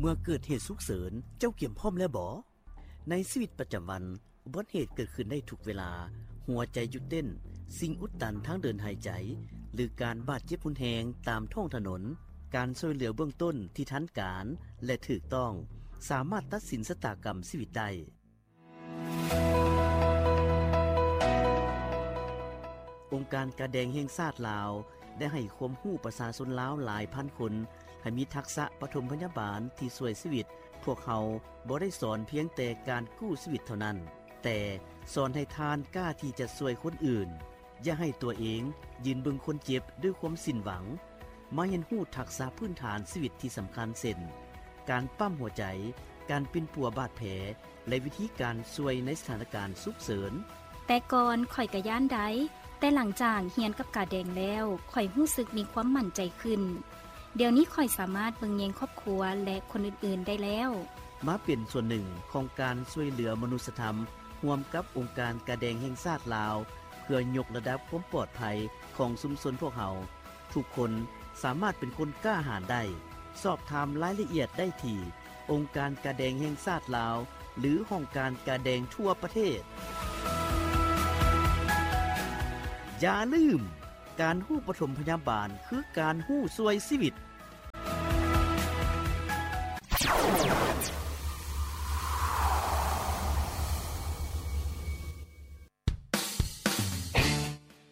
ເມື່ອເກີດເຫດສຸກເສີນ, ເຈົ້າກຽມພ້ອມແລ້ວບໍ? ໃນຊີວິດປະຈຳວັນ, ອຸບັດເຫດເກີດຂຶ້ນໄດ້ທຸກເວລາ, ຫົວໃຈຢຸດເຕັ້ນ, ສິ່ງອຸດຕັນທາງເດີນຫາຍໃຈ, ຫຼື ການບາດເຈັບຮຸນແຮງຕາມທ້ອງຖະໜົນ, ການຊ່ວຍເຫຼືອເບື້ອງຕົ້ນທີ່ທັນການ ແລະ ຖືກຕ້ອງ ສາມາດຕັດສິນຊະຕາກຳຊີວິດໄດ້. ອົງການກາແດງແຫ່ງຊາດລາວ ໄດ້ໃຫ້ຄວາມຮູ້ປະຊາຊົນລາວຫຼາຍພັນຄົນ ໃຫ້ມີທັກສະປະຖົມພະຍາບານທີ່ຊ່ວຍຊີວິດ. ພວກເຮົາບໍ່ໄດ້ສອນພຽງແຕ່ການກູ້ຊີວິດເທົ່ານັ້ນ, ແຕ່ສອນໃຫ້ທ່ານກ້າທີ່ຈະຊ່ວຍຄົນອື່ນ. ຢ່າໃຫ້ຕົວເອງຢືນເບິ່ງຄົນເຈັບດ້ວຍຄວາມສິ້ນຫວັງ. ມາຮຽນຮູ້ທັກສະພື້ນຖານຊີວິດທີ່ສຳຄັນ ເຊັ່ນ ການປ້ຳຫົວໃຈ, ການປິ່ນປົວບາດແຜ ແລະ ວິທີການຊ່ວຍໃນສະຖານະການສຸກເສີນ. ແຕ່ກ່ອນຂ້ອຍກະຢ້ານໄດ໋, ແຕ່ຫຼັງຈາກຮຽນກັບກາແດງແລ້ວ, ຂ້ອຍຮູ້ສຶກມີຄວາມໝັ້ນໃຈຂຶ້ນ. ດຽວນີ້ຂ້ອຍສາມາດເບິ່ງແຍງຄອບຄົວ ແລະ ຄົນອື່ນໆໄດ້ແລ້ວ. ມາເປັນສ່ວນໜຶ່ງຂອງການຊ່ວຍເຫຼືອມະນຸດສະທຳ ຮ່ວມກັບອົງການກາແດງແຫ່ງຊາດລາວ ເພື່ອຍົກລະດັບຄວາມປອດໄພຂອງຊຸມຊົນພວກເຮົາ. ທຸກຄົນສາມາດເປັນຄົນກ້າຫານໄດ້. ສອບຖາມລາຍລະອຽດໄດ້ທີ່ອົງການກາແດງແຫ່ງຊາດລາວ ຫຼື ຫ້ອງການກາແດງທົ່ວປະເທດ. ຢ່າລືມ, ການຮູ້ປະຖົມພະຍາບານຄືການຮູ້ຊ່ວຍຊີວິດ.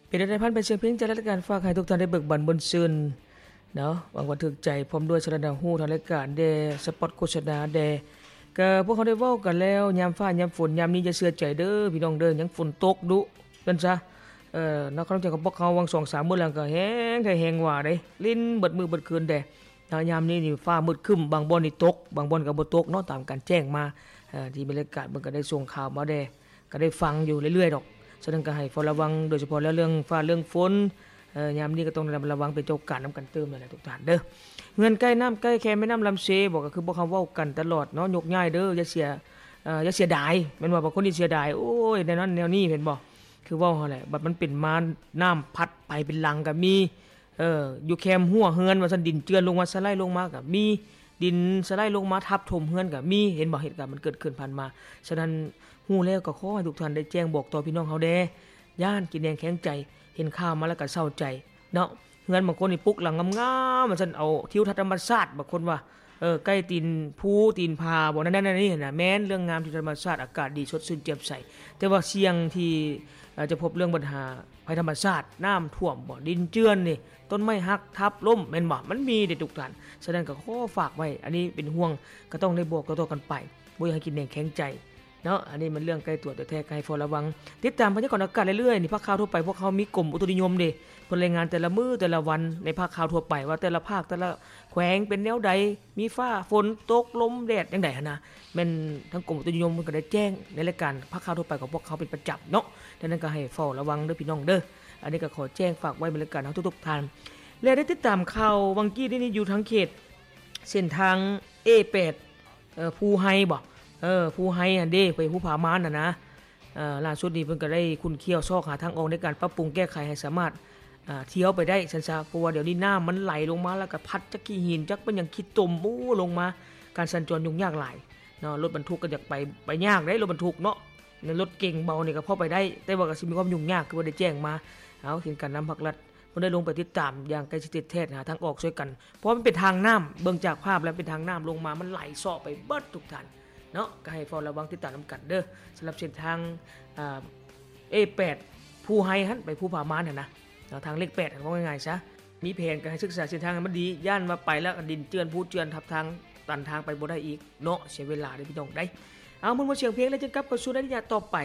ເປັນແນວໃດ ຜ່ານໄປສຽງເພງຈາກລາຍການ ຝາກໃຫ້ທຸກທ່ານໄດ້ເບີກບານມ່ວນຊື່ນເນາະ. ຫວັງວ່າຖືກໃຈ ພ້ອມດ້ວຍສາລະໜ້າຮູ້ທາງລາຍການແດ່, ສະປອດໂຄສະນາແດ່. ກະພວກເຮົາໄດ້ເວົ້າກັນແລ້ວ, ຍາມຟ້າຍາມຝົນຍາມນີ້ ຢ່າເຊື່ອໃຈເດີພີ່ນ້ອງເດີ, ຍັງຝົນຕົກດຸ ເອີ້ນຊະ. ເອີ ນະຄອນຫຼວງຂອງພວກເຮົາຫວ່າງສອງສາມມື້ຫຼັງກໍແຮງແທ້ແຮງວ່າເດ້, ລິນເບິດມື້ເບິດຄືນແດ່. ນະ ຍາມນີ້ນີ້ຟ້າມືດຄຶ້ມ, ບາງບ່ອນນີ້ຕົກ, ບາງບ່ອນກໍບໍ່ຕົກເນາະ, ຕາມການແຈ້ງມາ ເອີ ທີ່ແມ່ນລາຍການເພິ່ນກໍໄດ້ສົ່ງຂ່າວມາແດ່, ກໍໄດ້ຟັງຢູ່ເລື້ອຍໆດອກ. ສະນັ້ນກໍໃຫ້ເຝົ້າລະວັງ, ໂດຍສະເພາະແລ້ວເລື່ອງຟ້າເລື່ອງຝົນ, ເອີ ຍາມນີ້ກໍຕ້ອງໄດ້ລະມັດລະວັງເປັນເຈົ້າການນຳກັນຕື່ມນັ້ນແຫຼະທຸກທ່ານເດີ. ເຮືອນໃກ້ນ້ຳໃກ້ແຄແມ່ນ້ຳລຳເຊບໍ, ກໍຄືພວກເຮົາເວົ້າກັນຕະຫຼອດເນາະ, ຍົກຍ້າຍເດີ, ຢ່າເສຍ ເອີ ຢ່າເສຍດາຍ, ແມ່ນວ່າບາງຄົນນີ້ເສຍດາຍ, ໂອ້ຍ ແນວນັ້ນແນວນີ້ ແມ່ນບໍ່? ຄືເວົ້າຫັ້ນແຫຼະ, ບັດມັນເປັນມາ ນ້ຳພັດໄປເປັນຫຼັງກໍມີ, ເອີ ຢູ່ແຄມຮົ້ວເຮືອນວ່າຊັ້ນ, ດິນເຈື່ອນລົງມາ ສະໄລລົງມາກໍມີ, ດິນສະໄລລົງມາທັບຖົມເຮືອນກໍມີ, ເຫັນບໍ່? ເຫດການມັນເກີດຂຶ້ນຜ່ານມາ. ສະນັ້ນ ຮູ້ແລ້ວກໍຂໍໃຫ້ທຸກທ່ານໄດ້ແຈ້ງບອກຕໍ່ພີ່ນ້ອງເຮົາແດ່, ຢ້ານກິນແໜງແຂງໃຈ, ເຫັນຂ່າວມາແລ້ວກໍເຊົາໃຈເນາະ. ເຮືອນບາງຄົນນີ້ປຸກຫຼັງງາມໆ ວ່າຊັ້ນ, ເອົາທິວທັດທຳມະຊາດ, ບາງຄົນວ່າ ເອີ ໃກ້ຕີນພູຕີນຜາບໍ ນັ້ນໆ ນີ້ນະ, ແມ່ນເລື່ອງງາມທີ່ທຳມະຊາດ, ອາກາດດີ ສົດຊື່ນແຈ່ມໃສ. ແຕ່ວ່າສ່ຽງທີ່ ເອີ ຈະພົບເລື່ອງບັນຫາໄພທຳມະຊາດ, ນ້ຳຖ້ວມບໍ, ດິນເຈື່ອນນີ້, ຕົ້ນໄມ້ຫັກທັບລົ້ມ ແມ່ນບໍ່? ມັນມີເດ້ທຸກທ່ານ. ສະນັ້ນກໍຂໍຝາກໄວ້, ອັນນີ້ເປັນຫ່ວງ, ກໍຕ້ອງໄດ້ບອກຕໍ່ໆກັນໄປ, ບໍ່ຢາກໃຫ້ກິນແໜງແຂງໃຈເນາະ. ອັນນີ້ມັນເລື່ອງໃກ້ຕົວແທ້ໆ, ກໍໃຫ້ເຝົ້າລະວັງ. ຕິດຕາມພະຍາກອນອາກາດເລື້ອຍໆນີ້, ພາກຂ່າວທົ່ວໄປພວກເຮົາມີກົມອຸຕຸນິຍົມເດ້, ເພິ່ນລາຍງານແຕ່ລະມື້ແຕ່ລະວັນໃນພາກຂ່າວທົ່ວໄປ ວ່າແຕ່ລະພາກແຕ່ລະ ແຂວງເປັນແນວໃດ, ມີຟ້າຝົນຕົກ ລົມແດດຈັ່ງໃດຫັ້ນນະ, ແມ່ນທາງກົມອຸຕຸນິຍົມເພິ່ນກໍໄດ້ແຈ້ງໃນລາຍການພາກຂ່າວທົ່ວໄປຂອງພວກເຮົາເປັນປະຈຳເນາະ. ດັ່ງນັ້ນກໍໃຫ້ເຝົ້າລະວັງເດີພີ່ນ້ອງເດີ. ອັນນີ້ກໍຂໍແຈ້ງຝາກໄວ້ແມ່ນລາຍການເຮົາທຸກໆທ່ານ ແລະ ໄດ້ຕິດຕາມຂ່າວຫວ່າງກີ້ນີ້ຢູ່ທາງເຂດເສັ້ນທາງ ເອແປດ ເອີ ພູໄຮບໍ ເອີ ພູໄຮຫັ້ນເດ້ ໄປພູຜາມ່ານຫັ້ນນະ. ເອີ ລ່າສຸດນີ້ເພິ່ນກໍໄດ້ຂຸ້ນຂ້ຽວຊອກຫາທາງອອກໃນການປັບປຸງແກ້ໄຂໃຫ້ສາມາດ ເອີ ທ່ຽວໄປໄດ້ຊັ້ນຊະ, ເພາະວ່າດຽວນີ້ນ້ຳມັນໄຫຼລົງມາ ແລ້ວກໍພັດຈັກຂີ້ຫີນ ຈັກເປັນຫຍັງ ຂີ້ຕົມ ໂອ້ ລົງມາ, ການສັນຈອນຫຍຸ້ງຍາກຫຼາຍເນາະ. ລົດບັນທຸກກໍຢາກໄປ, ໄປຍາກເດ້ ລົດບັນທຸກເນາະ, ໃນລົດເກັງເບົານີ້ກໍພໍໄປໄດ້, ແຕ່ວ່າກໍຊິມີຄວາມຫຍຸ້ງຍາກ ຄືວ່າໄດ້ແຈ້ງມາ. ເອົາ ເຫັນການນຳພາກລັດ ເພິ່ນໄດ້ລົງໄປຕິດຕາມຢ່າງໃກ້ຊິດແທ້ໆ ຫາທາງອອກຊ່ວຍກັນ, ເພາະວ່າມັນເປັນທາງນ້ຳ, ເບິ່ງຈາກພາບແລ້ວເປັນທາງນ້ຳລົງມາ, ມັນໄຫຼເຊາະໄປເບິດທຸກທ່ານເນາະ. ກໍໃຫ້ເຝົ້າລະວັງຕິດຕາມນຳກັນເດີ, ສຳລັບເສັ້ນທາງ ອາ ເອແປດ ພູໄຮຫັ້ນ ໄປພູຜາມ່ານຫັ້ນນະເນາະ, ທາງເລກແປດຫັ້ນ ເວົ້າງ່າຍໆຊະ. ມີແຜນກໍໃຫ້ສຶກສາເສັ້ນທາງໃຫ້ມັນດີ, ຢ້ານວ່າໄປແລ້ວດິນເຈື່ອນ ພູເຈື່ອນ ທັບທາງ ຕັນທາງໄປບໍ່ໄດ້ອີກເນາະ, ເສຍເວລາເດ້ພີ່ນ້ອງເດ້. ເອົາ ມ່ວນໆສຽງເພງ ແລ້ວຈຶ່ງກັບເຂົ້າສູ່ໃນໄລຍະຕໍ່ໄປ.